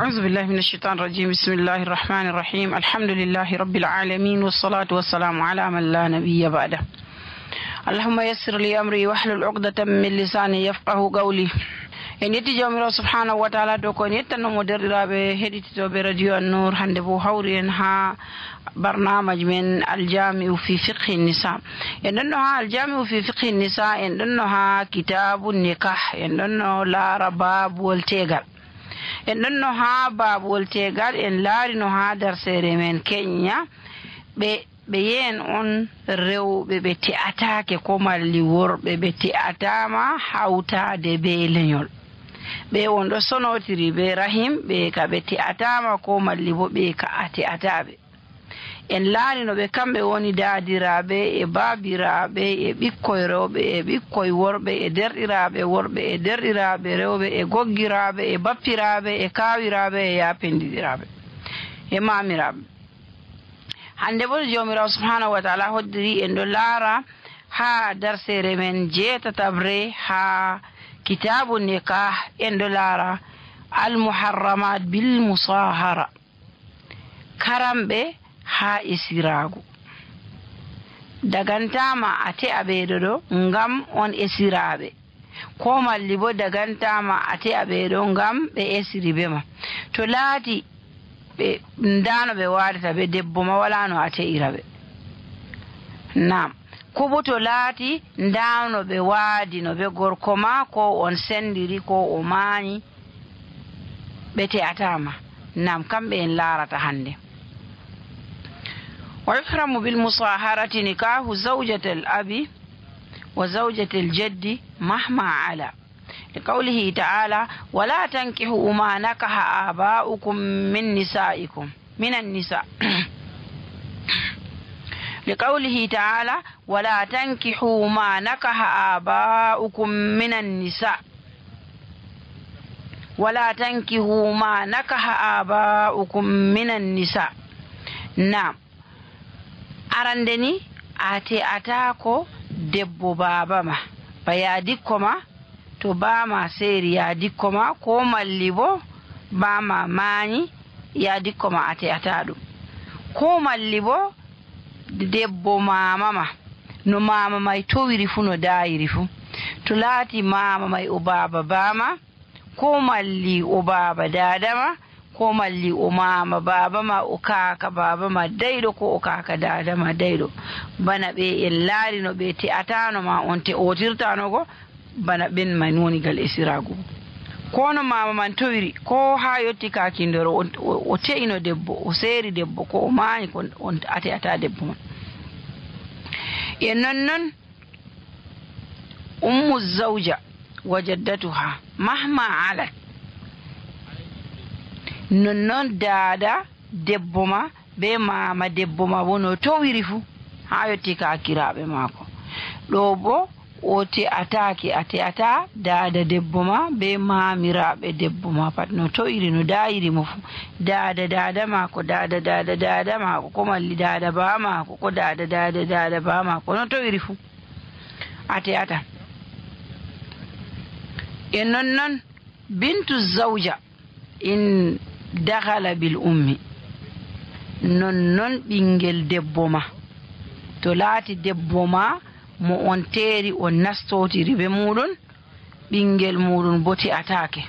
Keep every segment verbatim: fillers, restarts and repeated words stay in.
أعوذ بالله من الشيطان الرجيم. بسم الله الرحمن الرحيم. الحمد لله رب العالمين، والصلاة والسلام على من لا نبي بعده. اللهم يسر لي أمري واحلل عقدة من لساني يفقه قولي. En yetti Jawmiraawo subhaanahu wa taala dow ko en yettanno mo. Derɗiraaɓe heɗititooɓe Radio An-Nour, hannde bo hawri en haa barnaamaj men Aljami'u fi fiqhi nisa. En ɗonno haa Aljami'u fi fiqhi nisa, en ɗonno haa kitaabu nikah, en ɗonno laara baabuwol teegal. En ɗonno haa baabuwol teegal, en laarino haa darseere men keñña, ɓe, ɓe yeen on rewɓe ɓe te'ataake ko malli worɓe ɓe te'ataama hawtaade bee leñol. Ɓe on ɗo sonotiri bee rahim, ɓe ka ɓe te'ataama ko malli bo ɓe ka a te'ataaɓe. En laarino ɓe, kamɓe woni daadiraaɓe e baabiraaɓe e ɓikkoy rewɓe e ɓikkoy worɓe e derɗiraaɓe worɓe e derɗiraaɓe rewɓe e goggiraaɓe e bappiraaɓe e kaawiraaɓe e yaapendiɗiraaɓe e maamiraaɓe. Hannde bo Jawmiraawo subhaanahu wa taala hoddiri en ɗo laara haa darseere men jeetataɓre haa kitaabu nikah, en ɗo laara al muharramat bil musahara. Karamɓe haa esiraagu. Dagantaama a te'a ɓeeɗo ɗo ngam on esiraaɓe. Ko malli bo dagantaama a te'a ɓeeɗo ngam ɓe esiri bee ma. To laati ɓe, ndaa no ɓe waadata bee debbo ma, walaa no a te'ira ɓe. Naam. Ko bo to laati ndaa no ɓe waadino bee gorko ma, ko on senndiri, ko o maanyi, ɓe te'ataa ma. Naam, kamɓe en laarata hannde. ويحرم بالمصاهرة نكاح زوجة الأب وزوجة الجد مهما علا. لقوله تعالى: ولا تنكحوا ما نكح آباؤكم من نسائكم، من النساء. لقوله تعالى: ولا تنكحوا ما نكح آباؤكم من النساء. ولا تنكحوا ما نكح آباؤكم من النساء. Naam. Arande ni, a te'ataako debbo baaba ma, ba yaadikko ma, to baama seeri yaadikko ma, ko malli bo baama maanyi yaadikko ma, a te'ataa ɗum. Ko malli bo debbo maama ma, no maama may towiri fu, no daayiri fu. To laati maama may o baaba baama, ko malli o baaba daada ma, ko malli o maama baaba ma, o kaaka baaba ma dayɗo, ko o kaaka daada ma dayɗo. Bana ɓe en laarino ɓe te'ataano ma, on te'otirtaano go, bana ɓen man woni gal esiraagu. Ko no maama man towiri, ko haa yotti kaakindoro, o, o, o te'ino debbo, o seeri debbo, ko o maanyi, ko on a te'ataa debbo man. E non non, ummu zawja wa jaddatuha mahma alat. Non non daada debbo ma be maama debbo ma bo no towiri fu, haa yotti kaakiraaɓe maako. Ɗo bo o te'ataake, a te'ataa daada debbo ma be maamiraaɓe debbo ma pat no to'iri, no daayiri mo fu. Daada daada maako, daada daada daada maako, ko malli daada baa maako, ko daada daada daada baa maako no to'iri fu. A te'ata. E non non, bintu zawja in dakhala bil ummi. Non non ɓinngel debbo ma. To laati debbo ma mo on teeri, on nastotiri be muuɗum, ɓinngel muuɗum bo te'ataake.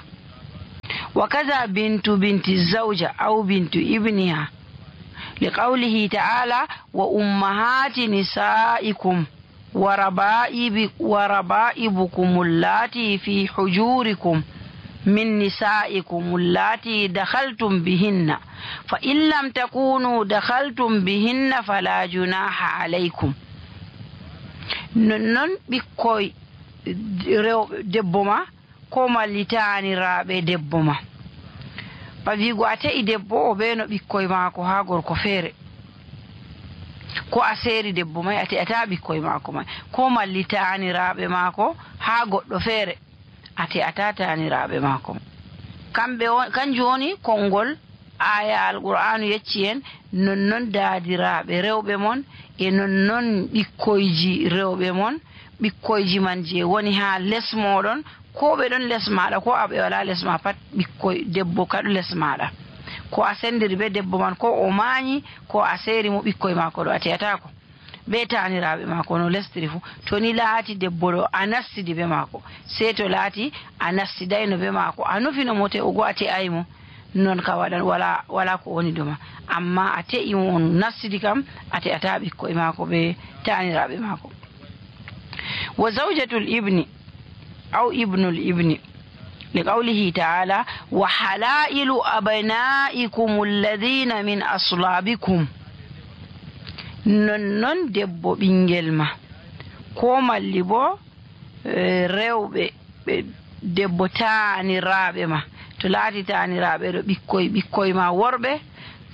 Wa kaza bintu binti zawja aw bintu ibniha. Li qawlihi ta'ala: "Wa ummahati nisa'ikum wa raba'ibi-, wa raba'ibukum allati fi hujurikum min nisa'ikum allati dakhaltum bihinna. Fa in lam takunu dakhaltum bihinna fala junaha alaykum." Non non ɓikkoy rewɓe debbo ma, ko malli taaniraaɓe debbo ma. Ba wi'ugo a te'i debbo o be no ɓikkoy maako haa gorko feere. Ko a seeri debbo may, a te'ataa ɓikkoy maako may. Ko malli taaniraaɓe maako haa goɗɗo feere, a te'ataa taaniraaɓe maako. Kamɓe on, kanjum woni konngol aaya Alqur'aanu yecci en, non non daadiraaɓe rewɓe mon, e non non ɓikkoyji rewɓe mon, ɓikkoyji man je woni haa les mooɗon, ko ɓe ɗon les maaɗa, ko a ɓe walaa les ma pat, ɓikkoy debbo kaɗo les maaɗa. Ko a senndiri bee debbo man, ko o maanyi, ko a seeri mo, ɓikkoy maako ɗo a te'ataako. Bee taaniraaɓe maako no lesdiri fuu. To ni laati debbo ɗo a nastidi bee maako, sey to laati a nastidayno bee maako, a nufino mo te'ugo a te'aay mo, non ka waɗan walaa, walaa ko woni dow ma. Ammaa a te'i mo on nastidi kam, a te'ataa ɓikkoy maako bee taaniraaɓe maako. Wa zawjatul ibni aw ibnul ibni. Li qawlihi ta'ala, "Wa halailu abnaikum alladhina min aslabikum." Nonnon debbo ɓinngel ma, ko malli boo, eh, rewɓe ɓe debbo taaniraaɓe ma, to laati taaniraaɓe ɗo ɓikkoy, ɓikkoy ma worɓe,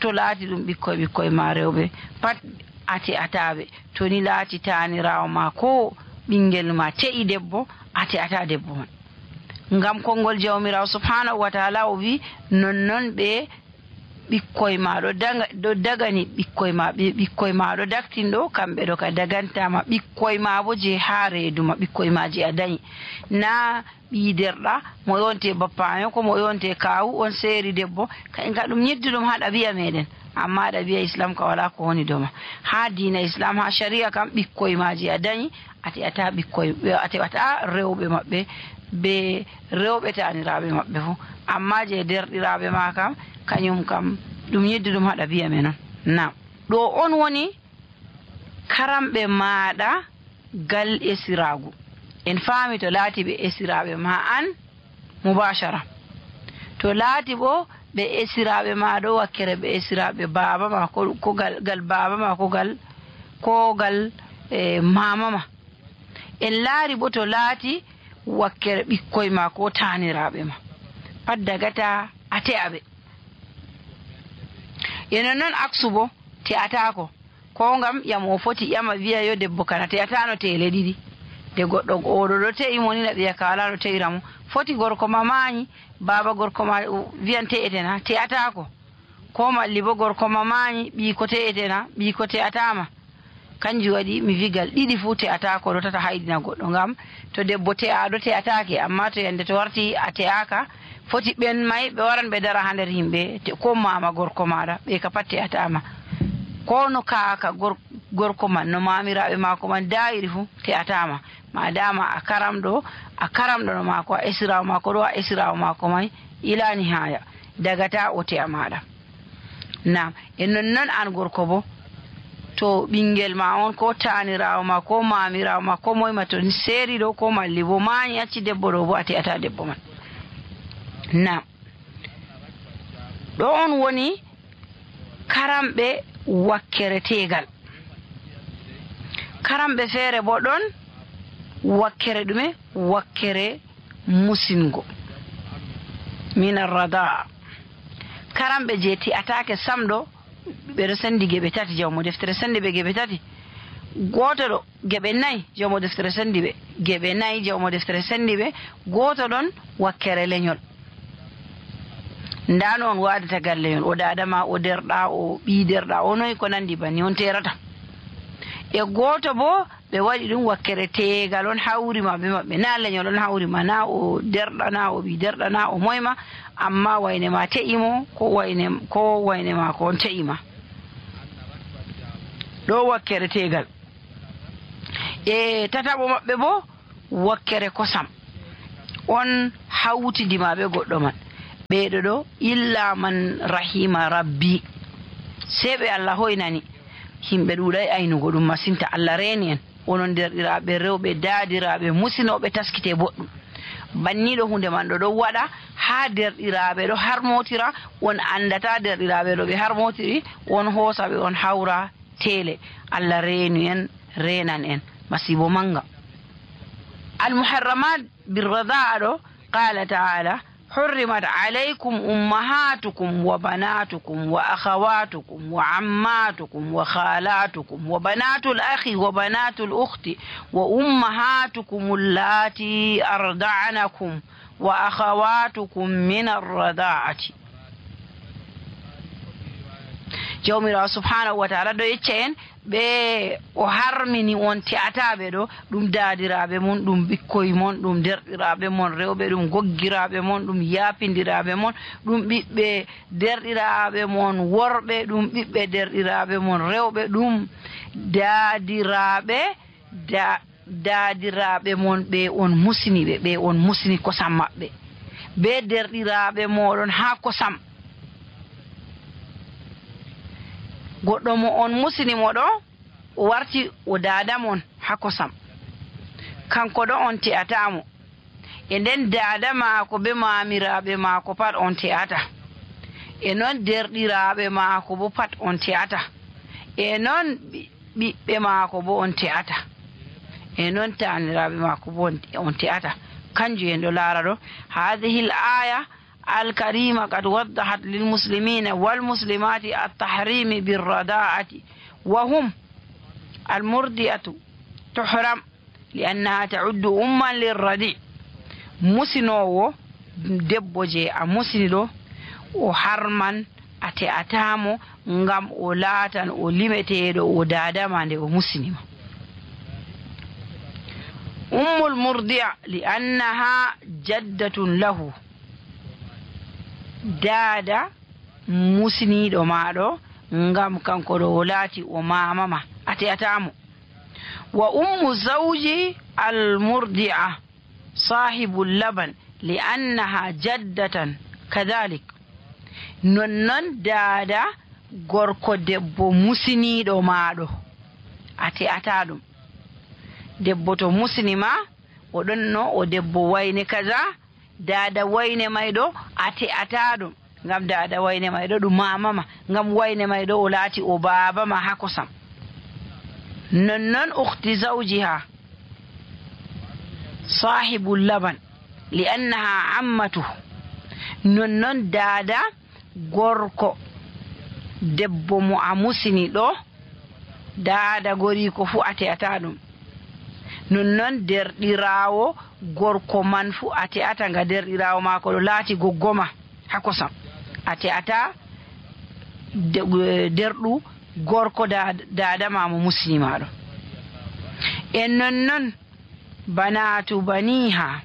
to laati ɗum ɓikkoy, ɓikkoy ma rewɓe, pat a te'ataa ɓe. To ni laati taaniraawo ma ko ɓinngel ma te'i debbo, a te'ataa debbo man. Ngam konngol Jawmiraawo Subhaanahu wa Ta'ala o wi'i, "Nonnon ɓe ɓikkoy ma ɗo daga-, ɗo dagani ɓikkoy ma, ɓe ɓikkoy ma ɗo daktin ɗo, kamɓe ɗo ka daganta ma, ɓikkoy ma bo je haa reedu ma, ɓikkoy ma je a danyi." Na ɓii derɗa, mo yonte bappayo, ko mo yonte kaawu, on seeri debbo, ka, ka ɗum nyidduɗum haa ɗabi'a meɗen. Ammaa ɗabi'a Islam ka walaa ko woni dow ma. Haa diina Islam, haa shari'a kam, ɓikkoy maaji a danyi, a te'ataa ɓikkoy, a te'ataa rewɓe maɓɓe, be rewɓe taaniraaɓe maɓɓe fuu. Ammaa je derɗiraaɓe ma kam, kanyum kam, ɗum nyidduɗum haa ɗabi'a men on. Naam. Ɗo on woni karamɓe maaɗa gal esiraagu. En faami to laati ɓe esiraaɓe ma an mubashara. To laati bo ɓe esiraaɓe ma ɗo wakkere ɓe esiraaɓe baaba ma ko, ko gal, gal baaba ma ko gal, ko gal, eh, mama ma. En laari bo to laati wakkere ɓikkoy ma ko taaniraaɓe ma. Pat dagata a te'a ɓe. E non non aksu bo te'ataako. Ko ngam ƴamo o foti ƴama wi'a yo debbo kana te'ataano teele ɗiɗi. De goɗɗo oɗo ɗo te'i mo ni na ɓiya ka walaa no te'ira mo. Foti gorko ma maanyi, baaba gorko ma wi'an te'ete na, te'ataako. Ko malli bo gorko ma maanyi, ɓiiko te'ete na, ɓiiko te'ataa ma. Kanjum waɗi mi vigal ɗiɗi fuu te'ataako ɗo tata haydina goɗɗo. Ngam to debbo te'aaɗo te'ataake, ammaa to yande to warti a te'aaka, foti ɓen may ɓe waran ɓe dara haa nder yimɓe, te ko maama gorko maaɗa, ɓe ka pat te'ataa ma. Ko no kaaka gor-, gorko man, no maamiraaɓe maako man daayiri fuu, te'ataa ma. Maadaama a karamɗo, a karamɗo no maako, a esiraawo maako ɗo, a esiraawo maako may, ilaa nihaaya, dagata o te'a maaɗa. Naam, e non non an gorko bo, to ɓinngel ma on, ko taaniraawo ma, ko maamiraawo ma, ko moy ma, to seeri ɗo, ko malli bo maanyi, acci debbo ɗo bo, a te'ataa debbo man. Naam. Ɗo on woni karamɓe wakkere teegal. Karamɓe feere bo ɗon wakkere ɗume? Wakkere musingo. Min arradaa. Karamɓe je te'ataake sam ɗo, ɓe ɗo sendi geɓe tati, jawmo deftere sendi ɓe geɓe tati. Gooto ɗo, geɓe nayi, jawmo deftere sendi ɓe geɓe nayi, jawmo deftere sendi ɓe. Gooto ɗon wakkere lenyol. Ndaa no on waadata gal lenyol, o daada ma, o derɗa, o ɓii derɗa, o noy ko nandi banni, on teerata. E gooto bo, ɓe waɗi ɗum wakkere teegal, on hawri ma be maɓɓe, na lenyol on hawri ma, na o derɗa, na o ɓii derɗa, na o moy ma, amma wayne ma te'i mo, ko wayne, ko wayne ma ko on te'i ma. Ɗo wakkere teegal. E tataɓo maɓɓe bo, wakkere kosam. On hawtidi ma be goɗɗo man. Ɓeeɗo ɗo, illa man rahima rabbi. Sey ɓe Allah hoynani. Himɓe ɗuuɗay aynugo ɗum masinta. Allah reeni en. Onon derɗiraaɓe rewɓe, daadiraaɓe, musinooɓe, taskite boɗɗum. Banniiɗo huunde man ɗo ɗon waɗa haa derɗiraaɓe ɗo harmotira, on anndata derɗiraaɓe ɗo ɓe harmotiri, on hoosa ɓe, on hawra teele. Allah reenu en, reenan en. Masiibo mannga. Al-Muharramat birrada'a ɗo, qala ta'ala, حرمت عليكم أمهاتكم وبناتكم وأخواتكم وعماتكم وخالاتكم وبنات الأخ وبنات الأخت وأمهاتكم اللاتي أرضعنكم وأخواتكم من الرضاعة. Jawmiraawo subhaanahu wa taala ɗo yecca en, ɓe o harmini on te'ataaɓe ɗo, ɗum daadiraaɓe mon, ɗum ɓikkoy mon, ɗum derɗiraaɓe mon rewɓe, ɗum goggiraaɓe mon, ɗum yaapindiraaɓe mon, ɗum ɓiɓɓe derɗiraaɓe mon worɓe, ɗum ɓiɓɓe derɗiraaɓe mon rewɓe, ɗum daadiraaɓe da-, daadiraaɓe mon ɓe on musini ɓe, ɓe on musini kosam maɓɓe, be derɗiraaɓe mooɗon haa kosam. Goɗɗo mo on musini mo ɗo, o warti o daada mon haa kosam. Kanko ɗo on te'ataa mo. E nden daada maako be maamiraaɓe maako pat on te'ata. E non derɗiraaɓe maako bo pat on te'ata. E non ɓi-, ɓiɓɓe maako bo on te'ata. E non taaniraaɓe maako bo on, on te'ata. Kanjum en ɗo laara ɗo. هذه الآية الكريمة قد وضحت للمسلمين والمسلمات التحريم بالرضاعة، وهم المرضعة تحرم لأنها تعد أما للرضيع. Musinoowo debbo je a musini ɗo, o harman a te'ataa mo, ngam o laatan o limeteeɗo, o daada ma nde o musini ma. أم المرضعة لأنها جدة له. Daada musiniiɗo ma ɗo, ngam kanko ɗo o laati o maama ma, a te'ataa mo. وأم الزوج المرضعة صاحب اللبن لأنها جدة كذلك. Nonnon daada gorko debbo musiniiɗo ma ɗo, a te'ataa ɗum. Debbo to musini ma, o ɗonno o debbo wayne kaza, daada wayne may ɗo, a te'ataa ɗum. Ngam daada wayne may ɗo ɗum maama ma, ngam wayne may ɗo o laati o baaba ma haa kosam. Nonnon ukhti zawjiha saahibu laban, li annaha ammatu. Nonnon daada gorko debbo mo a musini ɗo, daada goriiko fuu a te'ataa ɗum. Nonnon derɗiraawo gorko man fuu a te'ata nga derɗiraawo maako ɗo laati goggo ma haa kosam. A te'ata de-, derɗu gorko da-, daada ma mo musini ma ɗo. E nonnon banaatu baniha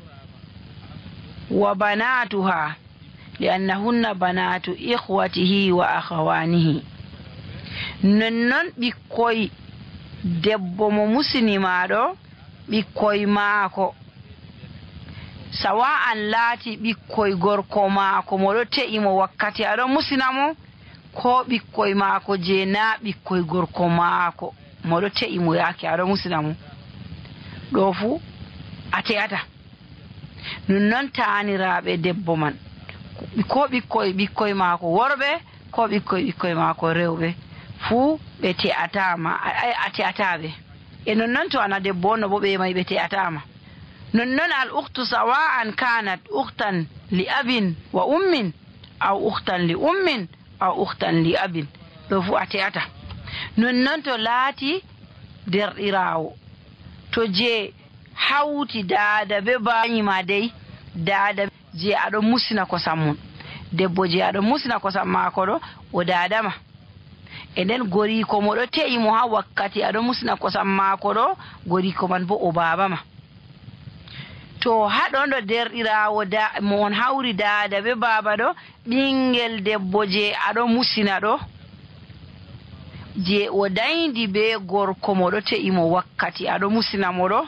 wa banaatuha, li annahunna banaatu ikhwatihi wa akhawanihi. Nonnon ɓikkoy debbo mo musini ma ɗo, ɓikkoy maako, sawa'an laati ɓikkoy gorko maako mo ɗo te'i mo wakkati a ɗo musina mo, ko ɓikkoy maako je na ɓikkoy gorko maako mo ɗo te'i mo yaake a ɗo musina mo, ɗo fuu a te'ata. Nonnon taaniraaɓe debbo man, ko ɓikkoy ɓikkoy maako worɓe, ko ɓikkoy ɓikkoy maako rewɓe, fuu ɓe te'ataa ma, a, a, a te'ataa ɓe. E nonnon to ana debbo on no bo ɓe may ɓe te'ataa ma. Nonnon al ukhtu sawa'an kanat ukhtan li abin wa ummin, aw ukhtan li ummin, aw ukhtan li abin. Ɗo fuu a te'ata. Nonnon to laati derɗiraawo, to je hawti daada be baaba ma dey, daada je aɗo musina kosam mum. Debbo je aɗo musina kosam maako ɗo, o daada ma. E nden goriiko mo ɗo te'i mo haa wakkati aɗo musina kosam maako ɗo, goriiko man bo o baaba ma. To haa ɗon ɗo derɗiraawo da-, mo on hawri daada be baaba ɗo, ɓingel debbo je aɗo musina ɗo, je o dayndi be gorko mo ɗo te'i mo wakkati aɗo musina mo ɗo,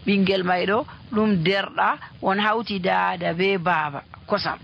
ɓingel may ɗo, ɗum derɗa, on hawti daada be baaba kosam.